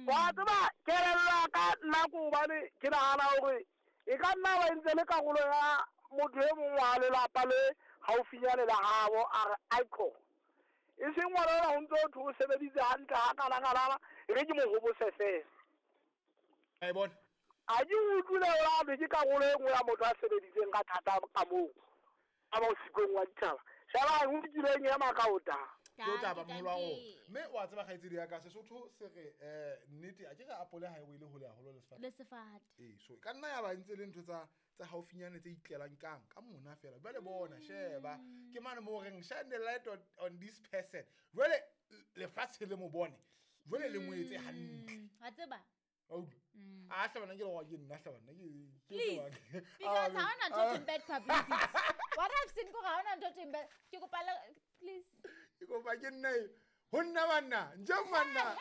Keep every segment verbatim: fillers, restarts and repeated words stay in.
Wa tseba kelello ya ka nna ke hobane ke nahana hore e ka nna ba entse le karolo ya motho e mong wa lelapa le haufinyane le habo a re icon. E seng ngwana ona ho ntso thwe o sebeditse hantle ha kana-kanana, e re ke mo hobose fela. A e bona. A ke utlwile hore ke karolo e nngwe ya motho a sebeditseng ka thata ka moo. A ba o sikong wa ditjhaba. Sheba o nkileng ema ka o taba. Ke o taba moholo wa rona. Mme wa tseba kgaitsedi ya ka Sesotho se re eh nnete a ke re apole ha e wele hole haholo le sefate. Le sefate. Eh so e ka nna ya ba ntse le ntho tsa tsa haufinyane tse itlelang kang ka mona fela. Jwale bona sheba ke mane mo reng shine the light on, on this person. Jwale lefatshe le mo bone. Jwale le mo etse hantle. Wa tseba? A hlabana ke le ke nna hlabana ke ke because ha ona ntho tse bad publicity. What I've seen ko ha ona ntho tse bad. Ke kopa please. Ke kopa ke nna ho nna banna nje manna.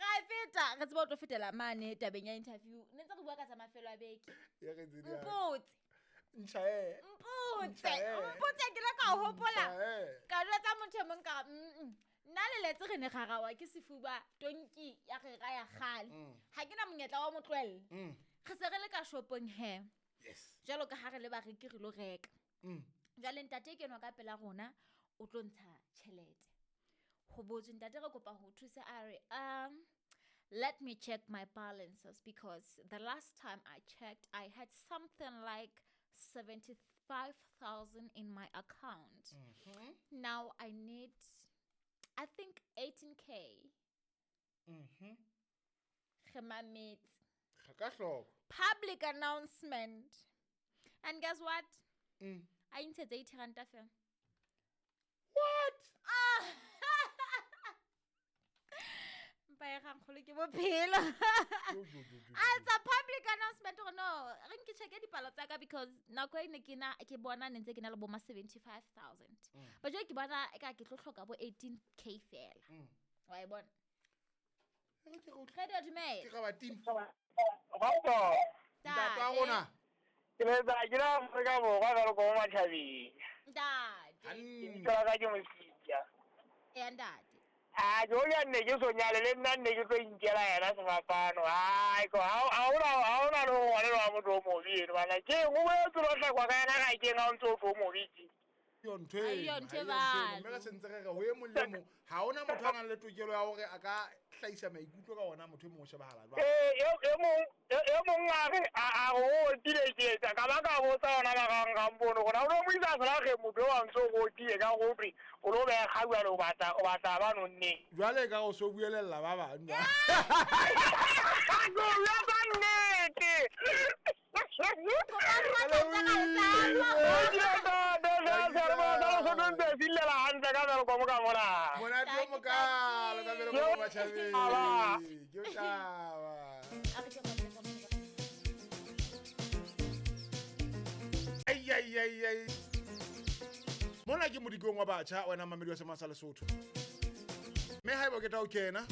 Ra feta re tseba o tlo fetela mane tabeng ya interview. Ne ntse re bua ka tsa mafelo a beke. Ya re tsedi. Mpotse. Ntjha e. Mpotse. Mpotse ke la ka hopola. Ka jwetsa motho e mong ka mm. Nna le letse re ne garawa ke sefuba tonki ya re ra ya kgale. Ha ke na monyetla wa motlohella. Re se re le ka shopong he. Yes. Jwalo ka ha re le bareki re lo reka. Jwale ntate ke nwa ka pela rona o tlo ntsha tjhelete. Ho botswe ntate re kopa ho thusa a re um let me check my balances because the last time I checked I had something like seventy-five thousand in my account. Mm-hmm. Now I need I think eighteen K. Mhm. Re ka hloko. Public announcement. And guess what? Mm. I ntshetse eighty ranta fela. What? Ah. Mpa e kgolo ke bophelo. It's a public announcement or no. Re nke check dipalo tsa ka because nako e ne ke na ke bona ne ntse ke na le bo ma seventy-five thousand. But jwale ke bona e ka ke tlo hloka bo eighteen K fela. Wa e bona? Re di dumela. Ke ga ba team. Go. Ntate wa rona. Ke le tsa ke la Afrika Borwa ka lo go mathabeng. Ntate. Ke ka ke mositja. Eh ntate. Ah, jo ya nne ke so nyale le nna nne ke tlo inkela yena sefapano. Ai ko ha ha ona ha ona lo ngwane wa motho o mobe eno bana. Ke go boetse lo hlakwa ka yena ga ke nga o ntso o mobe ke. Yo ntho e. Yo ntho e ba. Mme re sentse re re ho e mong le mong ha ona motho a nang le tokelo ya hore a ka hlahisa maikutlo ka ona motho e mong o shebahala jwang. Eh e mong e mong a re a go o tile ke etsa ka ba ka botsa ona ba gang ga mpono gona o mo isa sala ge motho wa ntso go tie ka go pre o lo be ga bua lo batla o batla ba nonne. Jwale ka o so buelella ba bang. Go ya ba nnete. Ai ai ai ai. Mona ke modikong wa batjha wena mamedi wa Semasa Lesotho. Mme haeba o keta o kena.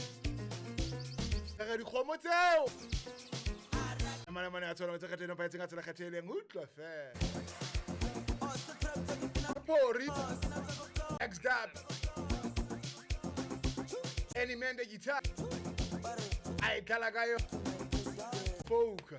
Re dikgomo tseo. Mane mane a tsona tse kgateng pa etseng a tsela kgatheleng utlwa fela. Pori X-Dab Any man the guitar. I dlala ka yo. Folk.